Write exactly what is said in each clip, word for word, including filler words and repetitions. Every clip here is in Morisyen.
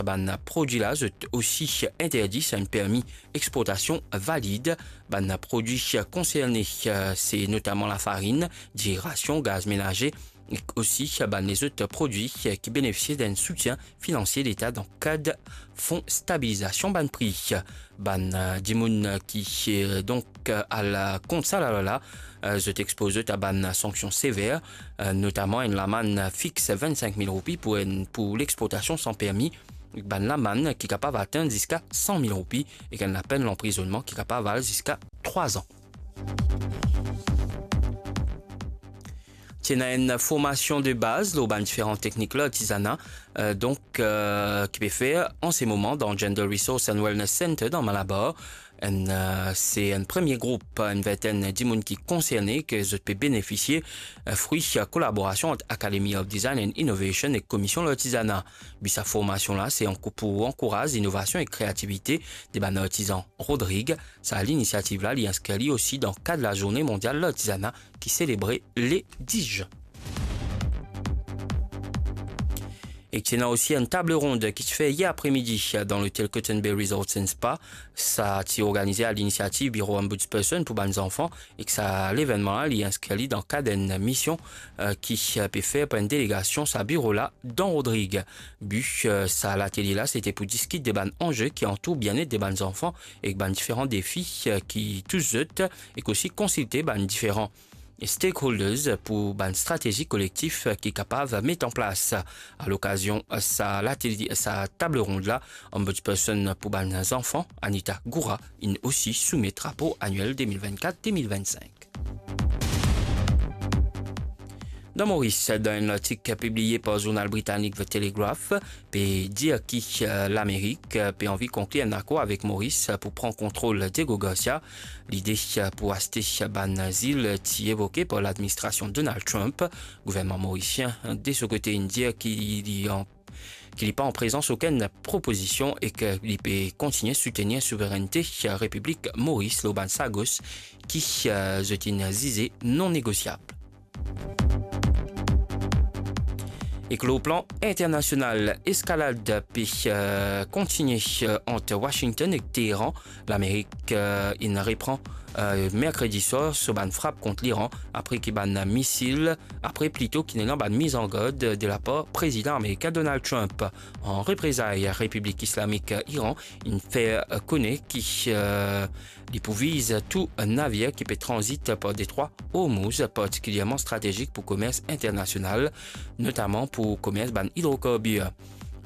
Bann prodwi la, zot osi interdi san enn permi exportasion valid. Bann prodwi konserne, eh, se notaman lafarinn, dirasion, gaz menaze, ek osi bann lezot prodwi ki benefisie d'enn soutien finansie Leta dan kad fon stabilizasion bann pri. Bann, eh, dimoun ki, eh, donk, eh, al kont sa lalwa la, eh, zot expoz zot a bann sanksion sever, eh, notaman enn lamann fix vinn-sink mil roupi pou enn, pou lexportasion san permi, bann lamann ki kapav atenn ziska san mil roupi, ek enn lapenn lanprizonnman ki kapav al ziska trwa zan. Ti ena enn formasion de baz lor bann diferan teknik lartizana, eh, donk, eh, ki pe fer an se moman dan Gender Resource and Wellness Center dan Malabar. Enn, eh, se enn premie group, enn vintenn dimoun ki konserne, ki zot pe benefisie, eh, fri, eh, kolaborasion ant Academy of Design and Innovation ek Komisyon Lartizana. Bi sa formasion la, se ankou-, pou ankouraz inovasion ek kreativite de bann artizan Rodrig. Sa linisiativ la, li inskrir li osi dan kad Lazourne Mondial Lartizana ki selebre le dis zin. Ek ti ena osi enn table ronde ki ti fer yer apremidi dan lotel Cotton Bay Resort and Spa. Sa ti organize a linisiativ Biro Ombudsperson pou bann zanfan, ek sa levennman la, li inskrir li dan kad enn mision, eh, ki, eh, pe fer par enn delegasion sa biro la dan Rodrig. Bi, eh, sa latelie la, se te pou diskit de bann anze ki antour bienet de bann zanfan ek bann diferan defi, eh, ki tous zot, ek osi konsilte bann diferan stakeholders pou bann stratezi kolektif ki kapav met an plas. A lokazion sa latelie, sa table ronde la, Ombudsperson pou bann zanfan, Anita Goura, inn osi soumet rapor aniel de mil vinn-kat de mil vinn-sink. Dan Moris, dan enn lartik pibliye par zournal britanik The Telegraph, pe dir ki, eh, Lamerik, eh, pe anvi konklir enn akor avek Moris, eh, pou pran kontrol Diego Garcia. Lide, eh, pou aste bann zil ti evoke par ladministrasion Donald Trump. Gouvernman morisien, eh, de so kote, inn dir ki li an-, ki li pa an prezans okenn propozision ek li pe kontigne soutenir souverennte, eh, Repiblik Moris lor bann sagos ki, eh, zot inn zize non negosiab. Ek lor plan internasional, eskalad pe, eh, kontigne, eh, ant Washington ek Teheran. Lamerik, eh, inn repran, eh, merkredi swar so bann frap kont Liran apre ki bann misil, apre plito ki ena bann mizangard de lapar Prezidan amerikin Donald Trump. An reprezay, Repiblik Islamik Iran inn fer, eh, kone ki, eh, li pou viz tou navir ki pe tranzit par detrwa Hormuz, partikilierman stratezik pou komers internasional, notaman pou komers bann idrokarbir.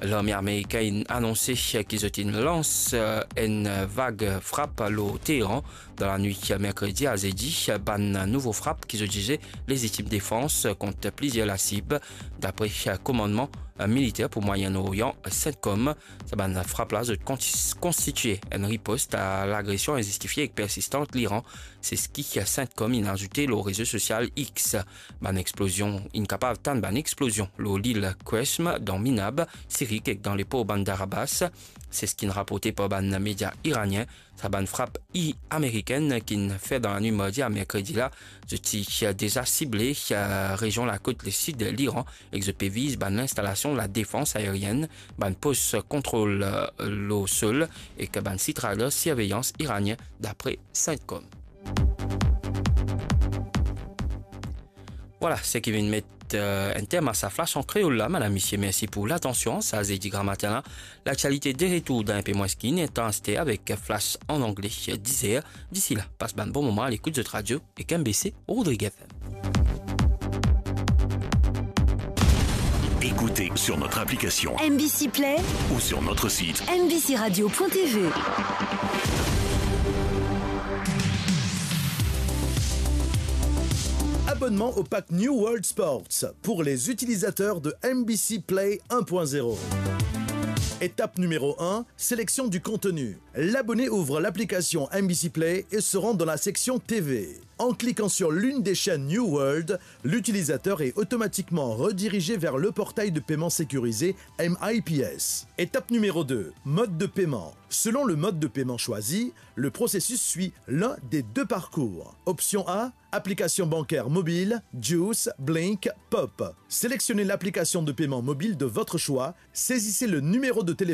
Larme amerikin inn anonse ki zot inn lans, eh, enn vag frap lor Teheran dan lanwit merkredi a zedi, bann nouvo frap ki zot dize lezitim defans kont plizier lasib, dapre komannman militer pou Mwayen Oryan, CENTCOM. Sa bann frap la, zot kontis-, konstitie enn ripost a lagresion inzistifie ek persistan Liran, se seki CENTCOM inn azoute lor rezo sosial X. Bann explozion, inn kapav tann bann explozion lor lil Qeshm, dan Minab, Sirik ek dan lepor Bandar Abbas. Se seki inn raporte par bann media iranien. Sa bann frap i-, amerikin ki'nn fer dan lanwit mardi a merkredi la, zot ti deza sible, eh, rezion lakot lesid Liran, ek zot pe viz bann linstalasion ladefans aerienn, bann pos kontrol, eh, lor sol, ek bann sitradar sirveyans iranien, dapre CENTCOM. Vwala, seki vinn met, eh, enn term a sa flash an kreol la, madam, misie, mersi pou latansion. Sa zedi gramatin la, laktialite de retour dan enpe mwins ki inn tan aster avek flash an angle, dis er. Disi la, pas bann bon moman a lekout zot radio ek M B C Rodrig F M. Écoutez sur notre application M B C Play ou sur notre site M B C radio point T V. Abonnement au pack New World Sports pour les utilisateurs de M B C Play un point zéro. Étape numéro un, sélection du contenu. L'abonné ouvre l'application M B C Play et se rend dans la section T V. En cliquant sur l'une des chaînes New World, l'utilisateur est automatiquement redirigé vers le portail de paiement sécurisé M I P S. Étape numéro deux, mode de paiement. Selon le mode de paiement choisi, le processus suit l'un des deux parcours. Option A, application bancaire mobile, Juice, Blink, Pop. Sélectionnez l'application de paiement mobile de votre choix, saisissez le numéro de téléphone